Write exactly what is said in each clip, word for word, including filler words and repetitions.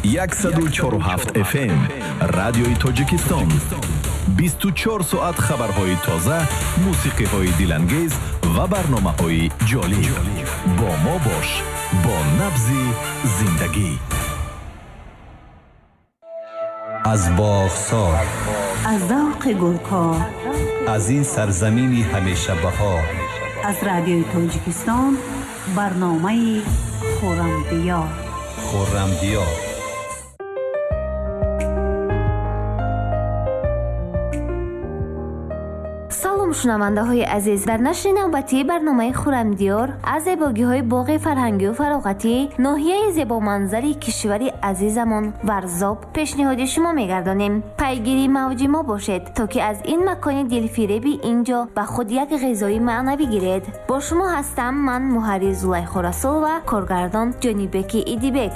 Яксаду чору ҳафт эф эм Радиои Тоҷикистон. Бисту чор соат хабарҳои тоза, мусиқиҳои дилангез ва барномаҳои ҷолиб. Бо мо бош, бо набзи зиндагӣ. Аз боғсор, аз завқи гулкор, аз ин сарзамини ҳамеша баҳор, аз Радиои Тоҷикистон барномаи Хуррамдиёр. Хуррамдиёр. Шунавандаҳои азиз, дар нашри навбатии барномаи Хуррамдиёр аз зебогиҳои боғи фарҳангию фароғатӣ ноҳияи зебоманзари кишвари азизамон Варзоб пешниҳоди шумо мегардонем. Пайгири мавҷи мо бошед, то ки аз ин макони дилфиреби ин ҷо ба худ як ғизои маънавӣ гиред. Бо шумо ҳастам ман, муҳаррир Зулайхо Расулова, коргардон Ҷонибеки Идибек.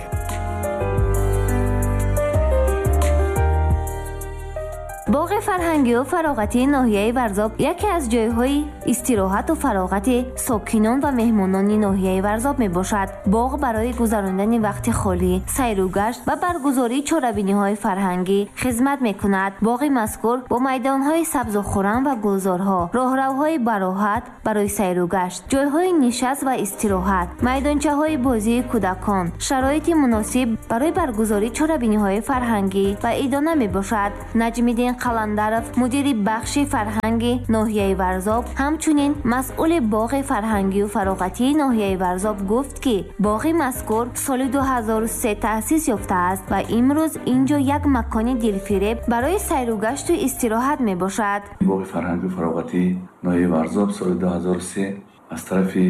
Боғи фарҳангию фароғатии ноҳияи Варзоб яке аз ҷойҳои истироҳату фароғати сокинон ва меҳмонони ноҳияи Варзоб мебошад. Боғ барои гузарондани вақти холӣ, сайру гашт ва баргузории чорабиниҳои фарҳангӣ хизмат мекунад. Боғи мазкур бо майдонҳои сабзу хуррам ва гулзорҳо, роҳравҳои бароҳат барои сайру гашт, ҷойҳои нишаст ва истироҳат, майдончаҳои бозии кӯдакон, шароити муносиб барои баргузории чорабиниҳои фарҳангӣ ва идона мебошад. Наҷмиддин Қаландаров, мудири бахши фарҳанги ноҳияи Варзоб, ҳамчунин масъули боғи фарҳангию фароғатии ноҳияи Варзоб гуфт, ки боғи мазкур соли ду ҳазору се таъсис ёфтааст ва имрӯз ин ҷо як макони дилфиреб барои сайругашту истироҳат мебошад. Боғи фарҳангию фароғатии ноҳияи Варзоб соли ду ҳазору се аз тарафи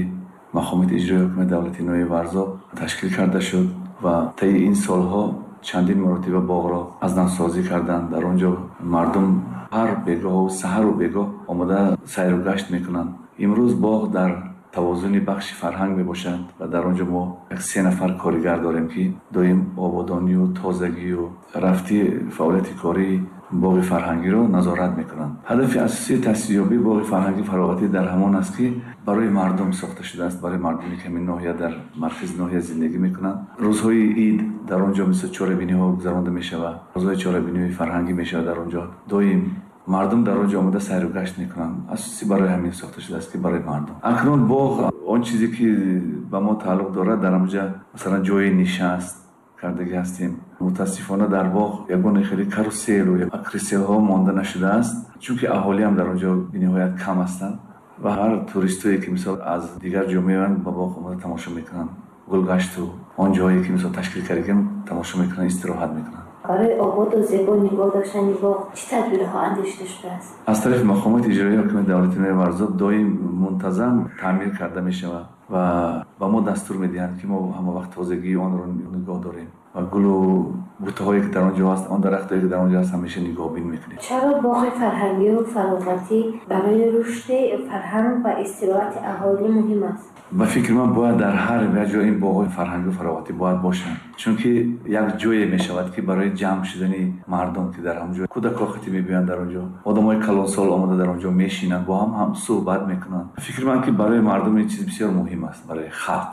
мақомоти иҷроии ҳукумати давлатии ноҳияи Варзоб ташкил карда шуд ва таи ин солҳо чандин маротиба боғро аз навсозӣ карданд. Дар он ҷо мардум ҳар бегоҳу саҳару бегоҳ омода сайру гашт мекунанд. Имрӯз боғ дар тавозуни бахши фарҳанг мебошад ва дар он ҷо мо як се нафар коригар дорем, ки доим ободонию тозагию рафти фаъолияти кории боғи фарҳангиро назорат мекунанд. Ҳадафи асосии таъсисёбии боғи фарҳангӣ фароғатӣ дар ҳамон аст, ки барои мардум сохта шудааст, барои мардуме, ки ҳамин ноҳия дар маркази ноҳия зиндагӣ мекунанд. Рӯзҳои ид дар он ҷо мисл чорабиниҳо гузаронда мешавад, рӯзҳои чорабиниҳои фарҳангӣ мешавад. Дар он ҷо доим мардум дар он ҷо омода сайру гашт мекунанд. Асосӣ барои ҳамин сохта шудааст, ки барои мардум. Акнун боғ он чизе ки ба мо тааллуқ дорад, дар он ҷо масалан ҷои нишаст кардагӣ ҳастем. Мутаассифона дар боғ ягон хеле каруселу кресельҳо монда нашудааст, чунки аҳолиам дар он ҷо бениҳоят кам ҳастанд ва ҳар туристое ки мисол аз дигар ҷо меоянд ба боғ омода тамошо мекунанд. Гулгашту он ҷоҳое ки мисол ташкил кардагим тамошо мекунанд, истироҳат мекунанд. Барои ободу зебо нигоҳ доштани боғ чӣ тадбирҳо андешида шудааст? Аз тарафи мақомоти иҷроии ҳукумати давлатии ноҳияи Варзоб доим мунтазам таъмир карда мешавад ва ба мо дастур медиҳанд, ки мо ҳама вақт тозагии онро нигоҳ дорем ва гулу бутаҳое ки дар он ҷо ҳаст, он дарахтҳое ки дар он ҷо ҳаст, ҳамеша нигоҳбин мекунем. Чаро боғи фарҳангию фароғатӣ барои рушди фарҳанг ва истироҳати аҳолӣ муҳим аст? Ба фикри ман бояд дар ҳар як ҷо ин боғҳои фарҳангию фароғатӣ бояд бошанд, чунки як ҷое мешавад, ки барои ҷамъ шудани мардум, ки дар ҳамон ҷо кӯдакҳо хати мебиёянд, дар он ҷо одамои калонсол омода дар он ҷо мешинанд, бо ҳам ҳам суҳбат мекунанд. Фикри ман ки барои мардум ин чиз бисёр муҳим аст, барои халқ.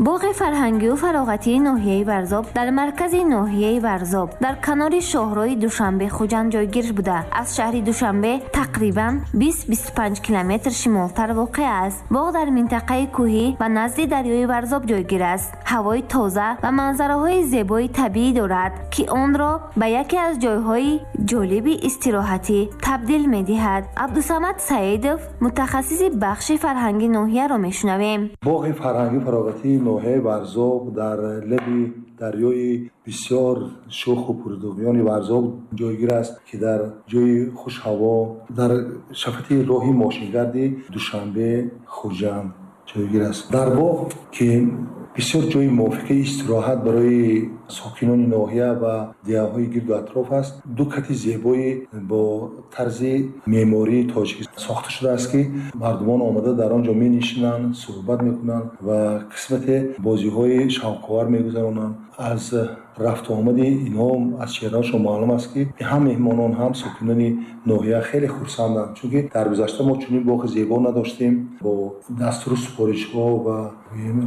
Боғи фарҳангию фароғатии ноҳияи Варзоб дар маркази ноҳияи Варзоб дар канори шоҳроҳи Душанбе-Хуҷанд ҷойгир буда, аз шаҳри Душанбе тақрибан бист-бисту панҷ километр шимолтар воқеъ аст. Боғ дар минтақаи кӯҳӣ ва назди дарёи Варзоб ҷойгир аст. Ҳавои тоза ва манзараҳои зебои табиӣ дорад, ки онро ба яке аз ҷойҳои ҷолиби истироҳатӣ табдил медиҳад. Абдусамад Саидов, мутахассиси бахши фарҳанги ноҳияро мешунавем. Боғи фарҳангию фароғатии ноҳияи Варзоб дар лаби дарёи бисёр шӯху пурдуғёни Варзоб ҷойгир аст, ки дар ҷои хушҳаво дар шафати роҳи мошингарди Душанбе Хуҷанд ҷойгир аст. Дар боғ, ки бисёр ҷои мувофиқи истироҳат барои сокинони ноҳия ва деҳаҳои гирду атроф аст, ду кати зебои бо тарзи меъмории тоҷикӣ сохта шудааст, ки мардумон омада дар он ҷо менишинанд, суҳбат мекунанд ва қисмате бозиҳои шавқовар мегузаронанд. Аз рафту омади инҳо аз чеҳраашон маълум аст, ки ҳам меҳмонон, ҳам сокинони ноҳия хеле хурсанданд, чунки дар гузашта мо чунин боғи зебо надоштем. Бо дастуру супоришҳо ва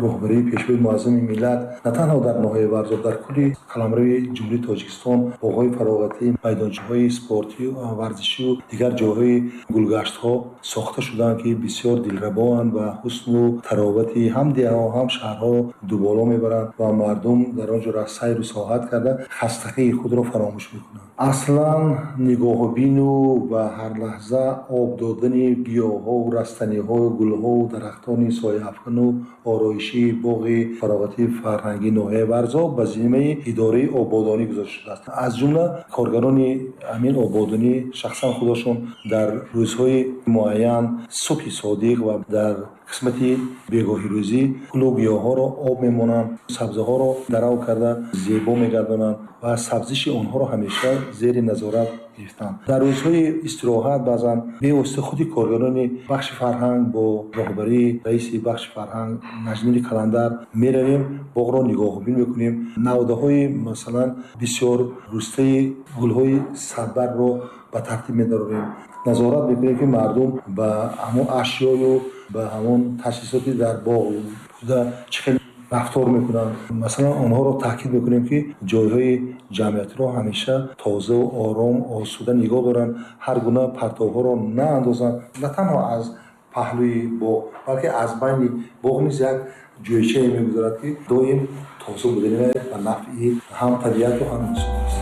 роҳбарии Пешвои Муаззами миллат на танҳо дар ноҳияи Варзоб, дар кулли қаламрави Ҷумҳурии Тоҷикистон боғҳои фароғатӣ, майдончаҳои спортӣ, варзишию дигар ҷойҳои гулгаштҳо сохта шуданд, ки бисёр дилрабоанд ва ҳусну таровати ҳам деҳаҳо, ҳам шаҳрҳоро дуболо мебаранд ва мардум дар он ҷо сайру саёҳат карда хастагии худро фаромӯш мекунанд. Аслан нигоҳубину ва ҳар лаҳза об додани гиёҳҳову растаниҳою гулҳову дарахтони сояафкану ороишии боғи фароғатии фарҳангии ноҳияи Варзоб ба зиммаи идораи ободонӣ гузошта шудааст. Аз ҷумла коргарони ҳамин ободонӣ шахсан худашон дар рӯзҳои муайян субҳи содиқ ва дар қисмати бегоҳирӯзӣ гулу гиёҳҳоро об мемонанд, сабзаҳоро дарав карда зебо мегардонанд ва сабзиши онҳоро ҳамеша зери назорат гирифтанд. Дар рӯзҳои истироҳат баъзан бевосита худи коргарони бахши фарҳанг бо роҳбарии раиси бахши фарҳанг Наҷмиддини Каландар меравем, боғро нигоҳубин мекунем. Навдаҳои масалан бисёр рустаи гулҳои садбаргро ба тартиб медарорем. Назорат мекунем, ки мардум ба ҳамон ашёю ба ҳамон таҷҳизоти дар боғ буда чӣ хел рафтор мекунанд. Масалан, онҳоро таъкид мекунем, ки ҷойҳои ҷамъиятиро ҳамеша тозаву ором, осуда нигоҳ доранд, ҳар гуна партовҳоро наандозанд. На танҳо аз паҳлӯи боғ, балки аз байни боғ низ як ҷойчае мегузарад, ки доим тоза будани ба нафъи ҳам табиату ҳам инсон аст.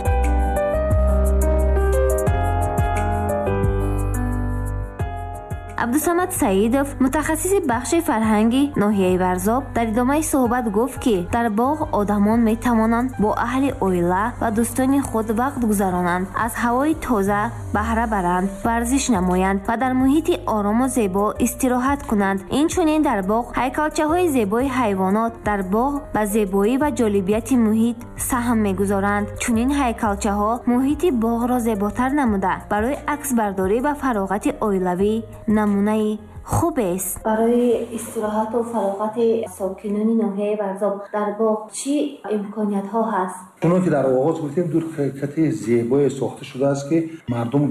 Абдусамад Саидов, мутахассиси бахши фарҳанги ноҳияи Варзоб, дар идомаи суҳбат гуфт, ки дар боғ одамон метавонанд бо аҳли оила ва дӯстони худ вақт гузаронанд, аз ҳавои тоза баҳра баранд, варзиш намоянд ва дар муҳити орому зебо истироҳат кунанд. Инчунин дар боғ ҳайкалчаҳои зебои ҳайвонот дар боғ ба зебоӣ ва ҷолибияти муҳит саҳм мегузоранд. Чунин ҳайкалчаҳо муҳити боғро зеботар намуда, барои аксбардорӣ ва фароғати оилавӣ намунаи хубест. Барои истироҳату фароғати сокинони ноҳияи Варзоб дар боғ чӣ имкониятҳо ҳаст? Чунон ки дар оғоз гуфтем, ду кати зебое сохта шудааст, ки мардум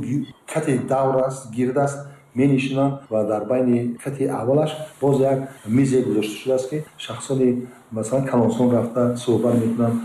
кати давр аст, гирд аст, менишинанд ва дар байни кати аввалаш боз як мизе гузошта шудааст, ки шахсони масалан калонсон рафта суҳбат мекунанд,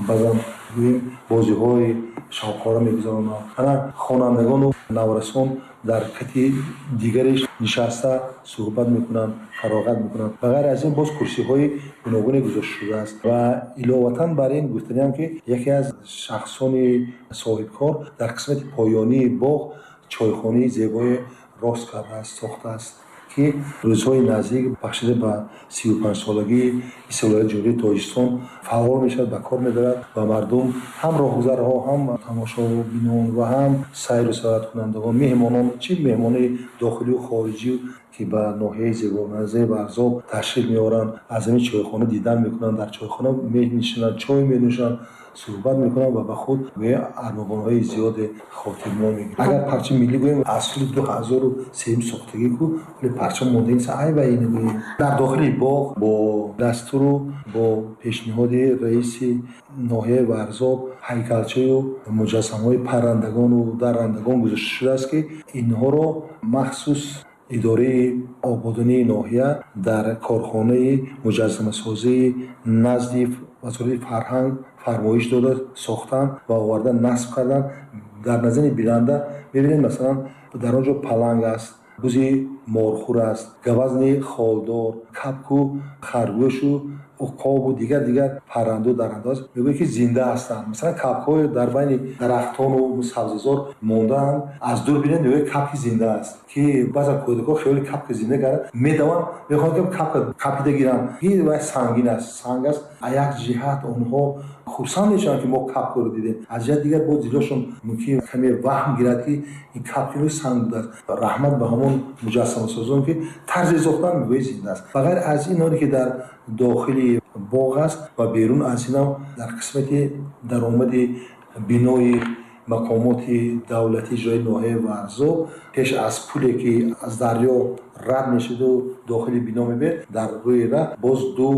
баъзан гӯем бозиҳои шавқора мегузаронанд. Ана хонандагону наврасон дар кати дигареш нишаста суҳбат мекунанд, фароғат мекунанд. Ба ғайр аз ин боз курсиҳои гуногуне гузошта шудааст ва иловатан бар ин гуфтаниам, ки яке аз шахсони соҳибкор дар қисмати поёнии боғ чойхонаи зебое рост кардааст, сохтааст, ки рӯзҳои наздик бахшида ба сию панҷсолагии истиқлолияти Ҷумҳурии Тоҷикистон фаъол мешавад, ба кор медорад ва мардум ҳам роҳгузарҳо, ҳам тамошобинон ва ҳам сайру саёҳаткунандагон, меҳмонон, чӣ меҳмонони дохилию хориҷӣ, ки ба ноҳияи зебоманзари Варзоб ташриф меоранд, аз ҳамин чойхона дидан мекунанд, дар чойхона менишинанд, чой менӯшанд, суҳбат мекунанд ва ба худ армуғонҳои зиёде хотирмон мегиранд. Агар парчами миллӣ гӯем, аз соли ду ҳазору сеюм сохтагӣ ку, вале парчам монда ин ай ба ин гӯем. Дар дохили боғ бо дастуру бо пешниҳоди раиси ноҳияи Варзоб ҳайкалчаю муҷассамаҳои паррандагону даррандагон гузошта шудааст, ки инҳоро махсус идораи ободонии ноҳия дар корхонаи муҷассамасозии назди вазорати фарҳанг фармоиш дода сохтанд ва оварда насб карданд. Дар назари бинанда мебинед, масалан, дар он ҷо паланг аст, бузи морхӯр аст, гавазни холдор, капку харгӯшу уқобу дигар дигар парранду даррандо аст. Мегӯяд, ки зинда ҳастанд. Масалан, капкҳои дар байни дарахтону сабзазор мондаанд. Аз дур бинед, мегӯяд капки зинда аст, ки баъзан кӯдакҳо хиёли капки зинда карда медаванд, мехоҳанд ки капка капида гиранд. Ин вай сангин аст, санг аст. Аз як ҷиҳат онҳо хурсанд мешаванд, ки мо капкаро дидем, аз ҷиҳат дигар боз дилошон мумкин каме ваҳм гирад, ки ин капки санг будааст. Раҳмат ба ҳамон муҷассамасозон, ки тарзе сохтанд, мегӯяд зинда аст. Ба ғайр аз ин, оне ки дар дохили боғ аст ва берун аз инам дар қисмати даромади бинои Мақомоти давлатии иҷроии ноҳияи Варзоб пеш аз пуле, ки аз дарё рад мешуду дохили бино мебиёд, дар рӯи раҳ боз ду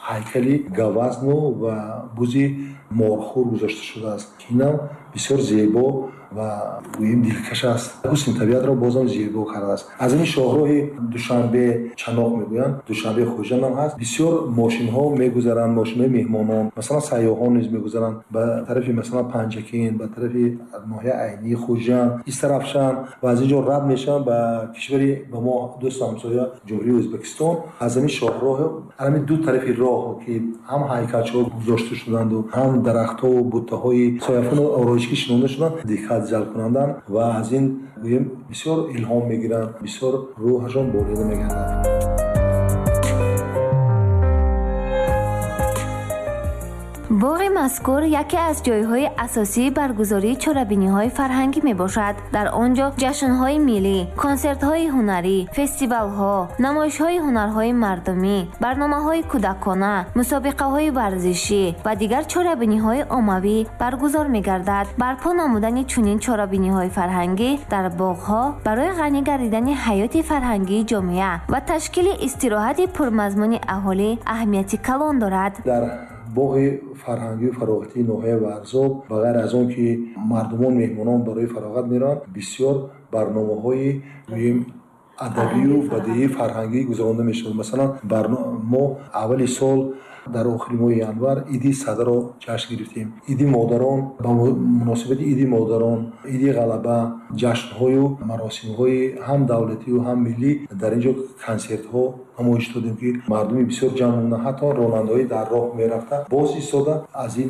ҳайкали гавазну ва бузи морхӯр гузошта шудааст, ки инам бисёр зебо ва гӯем дилкаш аст, ҳусни табиатро бозам зебо кардааст. Аз ин шоҳроҳи Душанбе Чаноқ мегӯянд, Душанбе Хуҷанд ҳам ҳаст, бисёр мошинҳо мегузаранд, мошинҳои меҳмонон, масалан, сайёҳон низ мегузаранд ба тарафи, масалан, Панҷакент, ба тарафи ноҳияи Айнӣ, Хуҷанд, Истаравшан ва аз ин ҷо рад мешаванд ба кишвари ба мо дӯсту ҳамсоя, Ҷумҳурии Ӯзбекистон. Аз ҳамин шоҳроҳ, ҳамин ду тарафи роҳ, ки ҳам ҳайкалчаҳо гузошта шуданду, ҳам дарахтҳову буттаҳои сояфону ороишгӣ шинонда шуданд, диққат ҷалб кунанданд ва аз ин, гӯем, бисёр илҳом мегиранд, бисёр рӯҳашон болида мегардад. Боғи мазкур яке аз ҷойҳои асосии баргузории чорабиниҳои фарҳангӣ мебошад. Дар он ҷо ҷашнҳои миллӣ, консертҳои ҳунарӣ, фестивалҳо, намоишҳои ҳунарҳои мардумӣ, барномаҳои кӯдакона, мусобиқаҳои варзишӣ ва дигар чорабиниҳои оммавӣ баргузор мегардад. Барпо намудани чунин чорабиниҳои фарҳангӣ дар боғҳо барои ғанӣ гардидани ҳаёти фарҳангии ҷомеа ва ташкили истироҳати пурмазмуни аҳолӣ аҳамияти калон дорад. Дар боғи фарҳангию фароғатии ноҳияи Варзоб, ба ғайр аз он ки мардумон, меҳмонон барои фароғат мераванд, бисёр барномаҳои, гӯем, адабию бадиии фарҳангӣ гузаронда мешавад. Масалан, мо аввали сол, дар охири моҳи январ, Иди Садаро ҷашн гирифтем, Иди модарон, ба муносибати Иди модарон, Иди Ғалаба, ҷашнҳою маросимҳои ҳам давлатию ҳам миллӣ дар ин ҷо консертҳо намоиш додем, ки мардуми бисёр ҷамъ омаданд, ҳатто ронандаҳои дар роҳ мерафта боз истода аз ин